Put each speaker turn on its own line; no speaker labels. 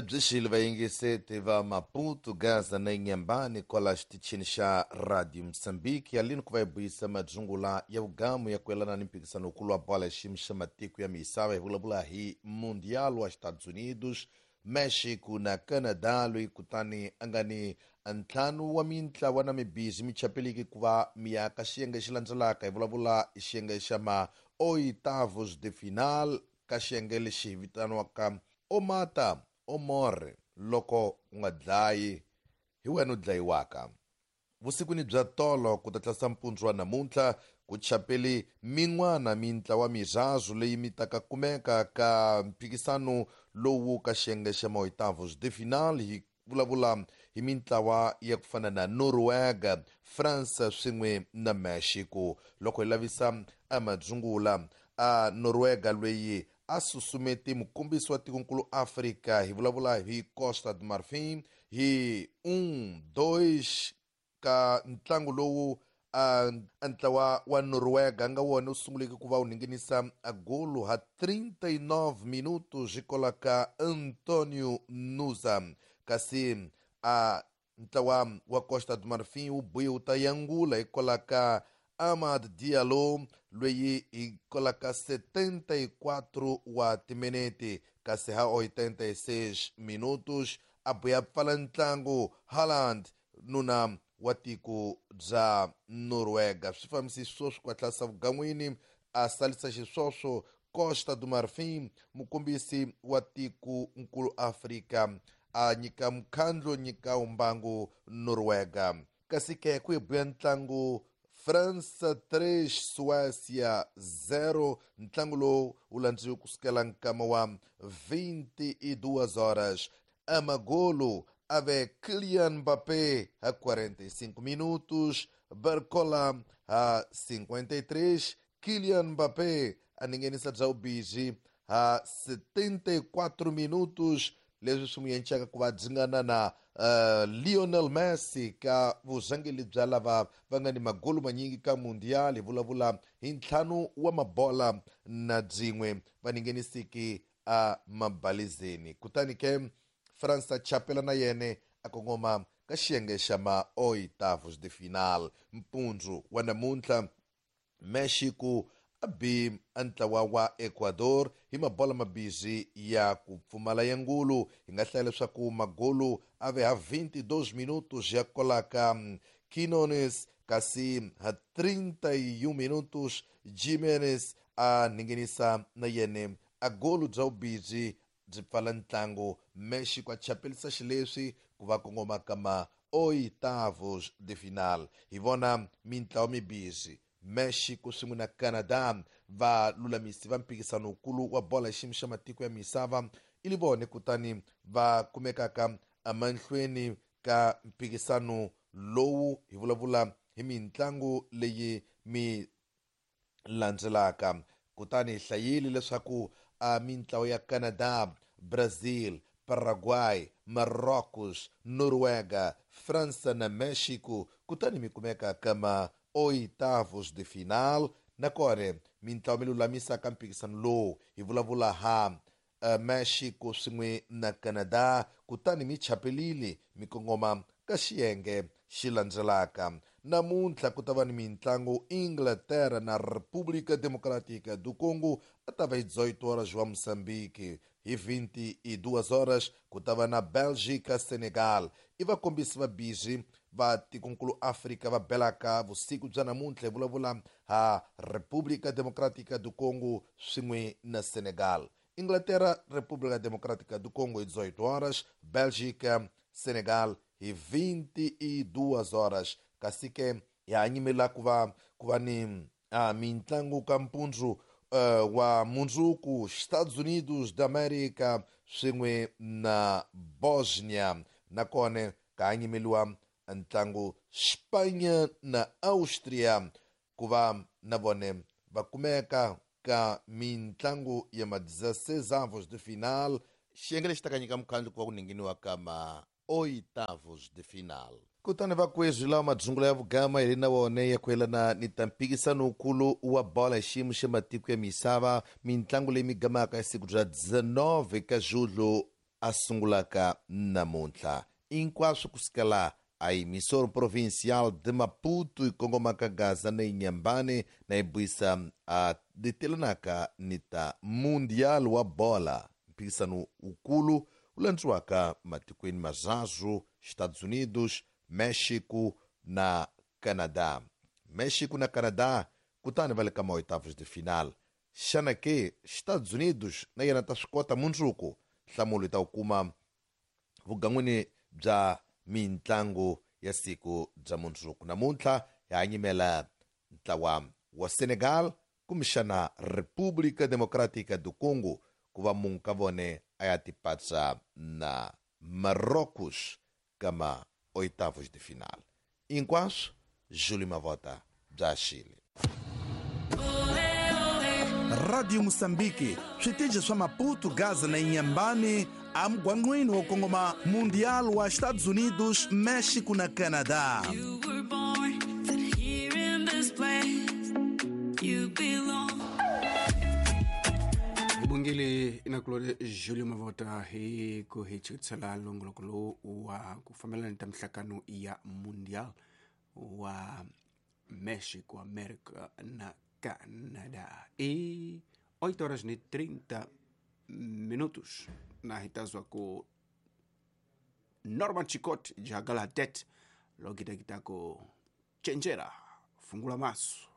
Byi xile vayingiseti va Maputo, Gaza na Inhambane kwala xitichini xa Radio Mozambique yalini ku va hi buyisa madzungula ya vugamu ya ku yelana ni mphikisano wukulu wa bola ya xiyimo xa matiko ya misava. Hi vulavula hi Mundial wa Estados Unidos, Mexico na Canada, loyi kutani a nga ni ntlhanu wa mintlawa na mibizi mi chapeliki ku va mi ya ka xiyenge xi landzelaka. Hi vulavula hi xiyenge xa ma oitavos de final, ka xiyenge lexi hi vitaniwaka omata omore, loko u nga dlayi hi wena u dlayiwaka. Vusikwini bya tolo ku ta tlasa mpundzu wa namuntlha ku chapeli min'wana mintlawa mirazu leyi mi taka kumeka ka mphikisano lowu ka xiyenge xa maoitavos de final. Hi vulavula hi mintlawa ya ku fana na Noruega, France swin'we na Mexico. Loko hi lavisa amadzungula a Noruega loyi a susumeti mukombisi wa tikonkulu Afrika, hi vulavula hi Costa do Marfim hi 1-2 ka ntlangu lowu a ntlawa wa Noruega nga wona wu sunguleke ku va wu ninginisa a golo ha 39 minutos hikwalaho ka Antonio Nusa, kasi a ntlawa wa Costa do Marfim wu buye wu ta yangula hikwalaho ka Amad Diallo loyi hikwalaho ka 74 wa timinete, kasi ha 86 minutos a buya pfala ntlangu Haaland, nuna wa tiko bya Noruega. Swi fambisi sweswo ku hatlasa vugan'wini a salisa xiswoswo Costa do Marfim, mukombisi wa tiko nkulu Afrika a nyika mukhandlo nyika umbangu Noruega. Kasi ke ku buya ntlangu France 3 Suécia 0, ntlangu lowu wu landziwe kusukela nkama wa 22 horas. Amagolo ave Kylian Mbappé a 45 minutos, Barcola a 53, Kylian Mbappé a ningenisa bya ubiji a 74 minutos, leswi swi n'wi encaka ku va dzingana na Lionel Messi ka vurhangeli bya lava va nga ni magolo manyingi ka Mundial. Hi vulavula hi ntlhanu wa mabola na byin'we va ningenisiki a mabalizeni. Kutani ke France a chapela na yene a kongoma ka xiyenge xa ma oitavos de final. Mpundzu wa namuntlha Mexico a bi a ntlawa wa Ecuador hi mabola mabizi ya ku pfumala ya ngulu. Hi nga hlaya leswaku magolo a ve ha 22 minutos ya kolaka Quinones, kasi ha 31 minutos Jimenez a ningenisa na yene a golo bya vubizi byi pfala ntlangu. Mexico a chapelisa xileswi ku va kongoma ka ma oitavos de final. Hi vona mintlawa mibizi Mexico swin'we na Canada, va lulamisi va mphikisano wukulu wa bola xiyimo xa matiko ya misava i li vone kutani va kumekaka emahlweni ka mphikisano lowu. Hi vulavula hi mitlangu leyi mi landzelaka. Kutani hi hlayile leswaku a mintlawa ya Canada, Brazil, Paraguay, Marrocos, Noruega, France na Mexico kutani mi kumeka ka ma oitavos de final. Nakona mintlawa mi lulamisaka mphikisano lowu, hi vulavula ha Mexico swin'we na Canada, kutani mi chapelile mi kongoma ka xiyenge xi landzelaka. Namuntlha ku ta va ni mitlangu Inglaterra na República Democrática do Congo a ta va hi 18 horas wa Moçambique. Hi 22 horas ku ta va na Belgica Senegal. I vakombisi va bizi va tikonkulu Afrika va belaka vusiku bya namuntlha. Hi vulavula ha República Democrática do Congo swin'we na Senegal. Inglaterra República Democrática do Congo hi 18 horas, Bélgica Senegal hi 22 horas. Kasi ke ya nyimela ku va ni mitlangu ka mpundzu wa mundzuku, Estados Unidos da América swin'we na Bosnia. Nakona ka nyimeliwa ntlangu Spain na Austria ku va na vone va kumeka ka mitlangu ya ma 16 avos de final, xiyenge lexi ta nyika mukhandlu ku va ku ninginiwa ka ma oitavos de final. Kutani vakwezwi lawa madzungula ya vugama hi na wona ya ku yelana ni ta mphikisano wukulu wa bola hi xiyimo xa matiko ya misava, mitlangu leyi mi gamaka ya siku bya 19 ka julho. a sungulaka namuntlha. Hinkwaswo kusukela a emissora provincial de Maputo yi kongomaka Gaza na Inhambane na yi buisa a ditelanaka ni ta Mundial wa bola, mphikisano wukulu wu landziwaka matikweni mazazu Estados Unidos, México na Canadá. México na Canadá kutani va le ka maoitavos de final. Xana ke Estados Unidos na yena ta swi kota mundzuku? Nhlamulo yi ta wu kuma vugan'wini bya mintlangu ya siku bya mundzuku. Namuntlha hi hanyimela ntlawa wa Senegal kumbexana República Democrática do Congo ku va munhu ka vone a ya tipatsa na Marrocos kama oitavos de final. Hinkwaswo Júlio Mavota bya Chile.
Radio Moçambique, switichi swa Maputo, Gaza na Inhambane, amugwangqwini wo kongoma Mundial wa Estados Unidos, México na Canadá.
You were born that here in this place you belong.
Bungile inakulore Julio Mavota hi ku hi chutsela longoloko lowu wa ku fambelana ta mihlangano ya Mundial wa México, América na Canadá. E 8 horas e 30 minutos na hitazwa ku Norman Chikot jagala det lokitakitako chenjera fungula maso.